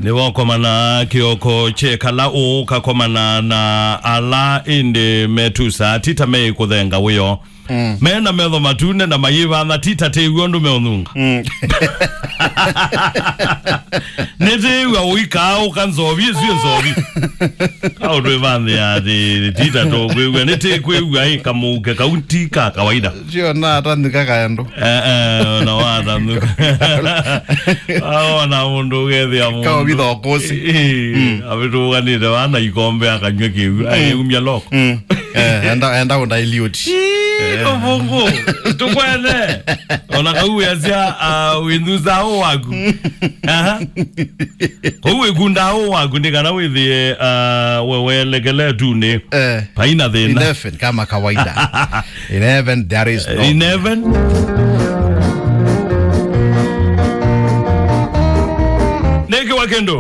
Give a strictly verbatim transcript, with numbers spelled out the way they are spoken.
Nĩwakomana kĩoko kyekala ũkakomana na ala ĩndĩ metusaa ti ta meĩkũthenga wĩoo. Mm. Me na metho matune na mayĩvana ti ta tĩw'a ũndũ meũnunga. Mm. Nĩtĩw'a ũikaa ũka nzovi ĩsu nzovi. Kaũndũ ĩvanthĩa atĩ ti ta tũkwĩw'a, nĩtĩkwĩw'a ĩ kamũuke kau ti ka kawaida. Sio na atanthika kaendo. Eh, eh, na watanthika. Aona mũndũ ũgethĩa mũndũ. Kaũvitha ũkũsi. Ĩĩ, mm, avĩtũũganĩte vana ikombe akanywa kĩw'ũ. Mm. Ayĩumya loko. Mm. Eh, enda, enda ũndailyoti. Ĩĩ, ũvũngũ. Tũkwene. Ona kau wĩasya, ah, wĩnthusa ũ waku. Aha. Kũu wĩkundaa ũ waku nĩ kana wĩthĩe, ah, we welekele tunĩ. Eh. Paina thĩna. Eleven kama kawaida. Eleven, there is no. Eleven. Nĩkĩwa kĩndũ.